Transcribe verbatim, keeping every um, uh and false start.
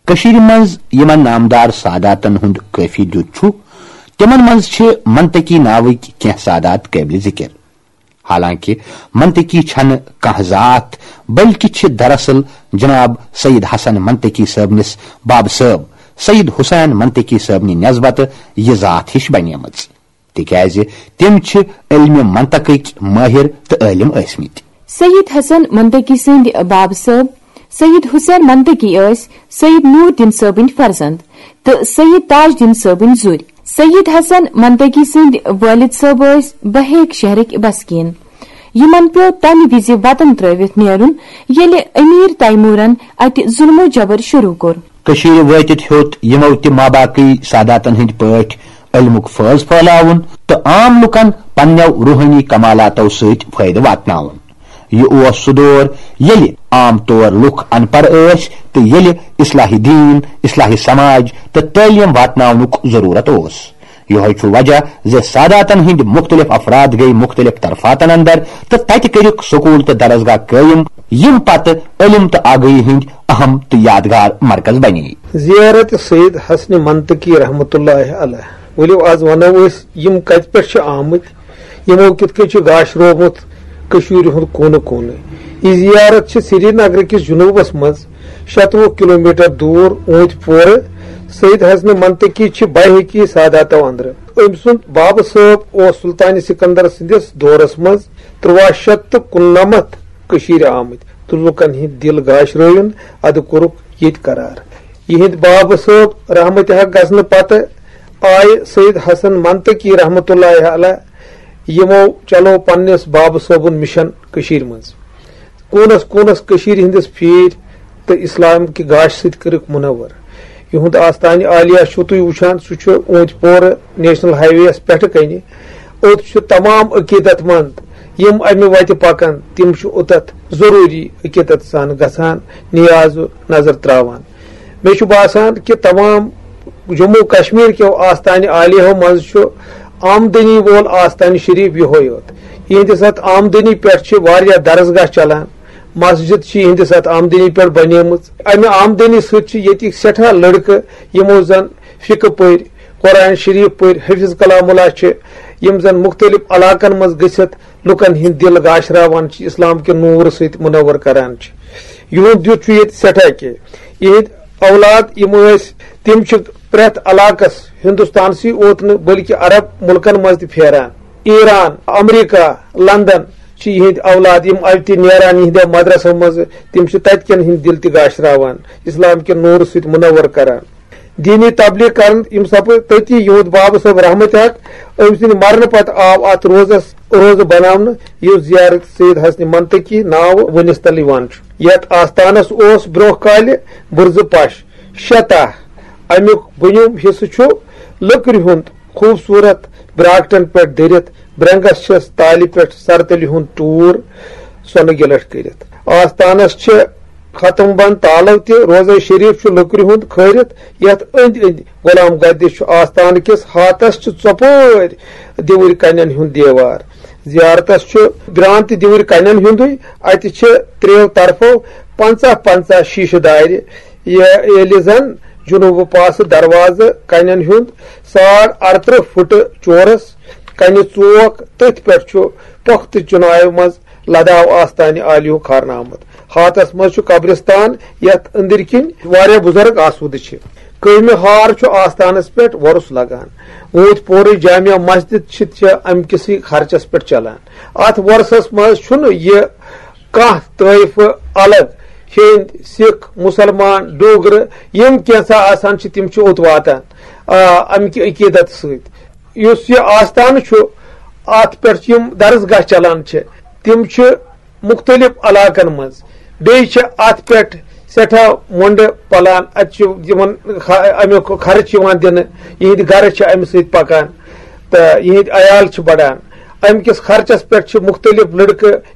کٔشیٖرِ منٛز یِمن نامدار ساداتن ہُنٛد قٲفی دیُت چھُ، تِمن منٛز چھِ منطقی ناوٕکۍ کینٛہہ سادات قٲبلِ ذِکِر۔ حالانکہِ منطقی چھنہٕ کانٛہہ ذات، بلکہِ چھِ دراصل جناب سید حسن منطقی صٲبنِس بابہٕ صٲب سید حسین منطقی صٲبنہِ نسبتہٕ یہِ ذات ہِش بنیمٕژ، تِکیازِ تِم چھِ علمِ منطقٕکۍ مٲہِر تہٕ عٲلِم ٲسمٕتۍ۔ سید حسن منطقی سٕنٛدۍ بابہٕ صٲب سید حسین منطقی ٲسۍ سید نور الدین صٲبٕنۍ فرزند تہٕ سید تاج الدین صٲبٕنۍ زُرۍ۔ سید حسن منطقی سٕنٛدۍ والد صٲب ٲسۍ بہیک شہرٕکۍ بسکیٖن۔ یِمن پیوٚو تمہِ وِزِ وطن ترٲوِتھ نیرُن، ییٚلہِ امیر تیمورن اتہِ ظلم و جبر شروع کوٚر۔ کٔشیٖرِ وٲتِتھ ہیوٚت یِمو تہِ ماباقی ساداتن ہٕنٛدۍ پٲٹھۍ علمُک فٲض پھٲلاوُن تہٕ عام لُکن پننٮ۪و روحٲنی کمالاتو سۭتۍ فٲیدٕ واتناوُن۔ یہِ اوس سُہ دور، ییٚلہِ عام طور لُکھ ان پڑھ ٲسۍ تہٕ ییٚلہِ اصلاح دین، اصلاح سماج تہٕ تعلیم واتناونُک ضرورت اوس۔ یِہوٚے چھُ وجہ زِ ساداتن ہٕنٛدۍ مُختٔلِف افراد گٔیہِ مُختٔلِف طرفاتن اندر تہٕ تتہِ کٔرِکھ سکوٗل تہٕ درسگاہ قٲیِم، یِم پتہٕ علم تہٕ آگاہی ہٕنٛدۍ اہم تہٕ یادگار مرکز بنے۔ زیارت سید حسن منطقی رحمتہ اللہ علیہ۔ ؤلِو، از ونو أسۍ، یِم کتہِ پٮ۪ٹھ چھِ آمٕتۍ، یِمو کِتھ کٔنۍ چھُ گاشروومُت کٔشیٖرِ ہُنٛد کوٗنہٕ کوٗنہٕ۔ یہِ زیارت چھِ سرینگرٕ کِس جنوٗبس منٛز شَتوُہ کلومیٹر دوٗر اوٗنتۍ پورٕ۔ سید حسن منطقی چھِ بحیکی ساداتو اندرٕ۔ أمۍ سُنٛد بابہٕ صٲب اوس سلطان سکندر سٕنٛدِس دورس منٛز ترٛواہ شیٚتھ تہٕ کُننَمَتھ کٔشیٖرِ آمٕتۍ تہٕ لوٗکن ہٕنٛدۍ دِل گاشرٲوِن، ادٕ کوٚرُکھ ییٚتہِ قرار۔ یِہنٛدۍ بابہٕ صٲب رحمتِ حق گژھنہٕ پتہٕ آیہِ سید حسن منطقی رحمتہ اللہ علیہ، یِمو چلو پننِس بابہٕ صٲبُن مِشن کٔشیٖرِ منٛز۔ کوٗنس کوٗنس کٔشیٖرِ ہٕنٛدِس پھیٖرۍ تہٕ اسلام کہِ گاشہِ سۭتۍ کٔرٕکھ منور۔ یِہُنٛد آستانہِ عالیہ چھُو تُہۍ وٕچھان، سُہ چھُ اوٗنتۍ پورٕ نیشنل ہاے وے یَس پٮ۪ٹھٕ کنہِ۔ اوٚت چھِ تمام عقیدت مند، یِم امہِ وتہِ پکان، تِم چھِ اوٚتتھ ضروٗری عقیدت سان گژھان، نیاز و نظر تراوان۔ مےٚ چھُ باسان کہِ تمام جموں کشمیر کیو آستانہِ عالیہو منٛز چھُ آمدنی وول آستانہِ شریف یِہوٚے یوت۔ یِہنٛدِس اتھ آمدنی پٮ۪ٹھ چھِ واریاہ درسگاہ چلان، مسجد چھِ یِہنٛدِس اتھ آمدنی پٮ۪ٹھ بنیمٕژ۔ امہِ آمدنی سۭتۍ چھِ ییٚتِکۍ سٮ۪ٹھاہ لڑکہٕ، یِمو زن فقہ پٔرۍ، قرآن شریف پٔرۍ، حفظ کلام اللہ چھِ، یِم زن مختلف علاقن منٛز گٔژھِتھ لُکن ہٕنٛدۍ دِل گاشراوان چھِ اسلام کہِ نوٗر سۭتۍ منور کران چھِ۔ یِہُنٛد دیُت چھُ ییٚتہِ سٮ۪ٹھاہ کینٛہہ۔ یِہنٛدۍ اولاد یِم ٲسۍ، تِم چھِ پرٛٮ۪تھ علاقس، ہندوستانسٕے اوت نہٕ بلکہِ عرب مُلکن منٛز تہِ پھیران۔ ایران، امریکہ، لندن چھِ یِہنٛدۍ اولاد، یِم اتہِ نیران یِہنٛدیو مدرسو منٛزٕ، تِم چھِ تتہِ کٮ۪ن ہٕنٛدۍ دِل تہِ گاشراوان، اسلام کہِ نوٗرٕ سۭتۍ منور کران۔ دینی تبلیغ کرن یِم سپٕدۍ تٔتی۔ یِہُنٛد بابہٕ صٲب رحمت حق، أمۍ سٕنٛدِ مرنہٕ پتہٕ آو اتھ روزس روزٕ بناونہٕ، یُس زیارت سید حسن منطقی ناوٕ ؤنِس تل یِوان چھُ۔ یتھ آستانس اوس برونٛہہ کالہِ بُرزٕ پش، شےٚ تاہ۔ امیُک بۄنِم حصہٕ چھُ لٔکرِ ہُنٛد خوٗبصوٗرت براکٹن پٮ۪ٹھ دٔرِتھ، برنگس چھِس تالہِ پٮ۪ٹھ سرتلہِ ہُنٛد ٹوٗر سۄنہٕ گِلٹھ کٔرِتھ۔ آستانس چھِ ختم بند تالو تہِ۔ روضہ شریف چھُ لٔکرِ ہُنٛد کھٲرِتھ، یتھ أنٛدۍ أنٛدۍ غلام گدِ چھُ۔ آستان کِس ہاتس چھِ ژۄپٲرۍ دِوٕرۍ کنٮ۪ن ہُنٛد دیوار۔ زیارتس چھُ برانتہِ دِوٕرۍ کنٮ۪ن ہُنٛدُے۔ اتہِ چھِ ترٛیو طرفو پنٛژاہ پنٛژاہ شیٖشہٕ دارِ۔ یہِ-، ییٚلہِ زن جنوٗبہٕ پاسہٕ دروازٕ کنٮ۪ن ہُنٛد ساڑ ارترٕہ فُٹہٕ چورس کنہِ ژوک، تٔتھۍ پٮ۪ٹھ چھُ پۄختہٕ چُنایہِ منٛز لداو آستانہِ عالیُک خارنامہٕ۔ ہاتس منٛز چھُ قبرستان، یتھ أنٛدٕرۍ کِنۍ واریاہ بُزرگ آسوٗدٕ چھِ۔ کٔہمہِ ہار چھُ آستانس پٮ۪ٹھ وۄرُس لگان۔ اوٗنتۍ پورٕچ جامع مسجد چھِ، چھِ امہِ کِسٕے خرچس پٮ۪ٹھ چلان۔ اتھ وۄرسس منٛز چھُنہٕ یہِ کانٛہہ طٲیفہٕ الگ، ہیٚنٛدۍ، سِکھ، مُسلمان، ڈوگرٕ، یِم کینٛژھا آسان چھِ، تِم چھِ اوٚت واتان، آ، امہِ کہِ عقیدت سۭتۍ۔ یُس یہِ آستانہٕ چھُ، اتھ پٮ۪ٹھ یِم درسگاہ چلان چھِ، تِم چھِ مُختٔلِف علاقن منٛز۔ بیٚیہِ چھِ اتھ پٮ۪ٹھ سٮ۪ٹھاہ مۄنٛڈٕ پلان۔ اتہِ چھُ یِمن خ-، امیُک خرٕچ یِوان دِنہٕ۔ یِہنٛدۍ گرٕ چھِ امہِ سۭتۍ پکان تہٕ یِہنٛدۍ عیال چھِ بڑان۔ امہِ کِس خرچس پٮ۪ٹھ چھِ مُختٔلِف لڑکہٕ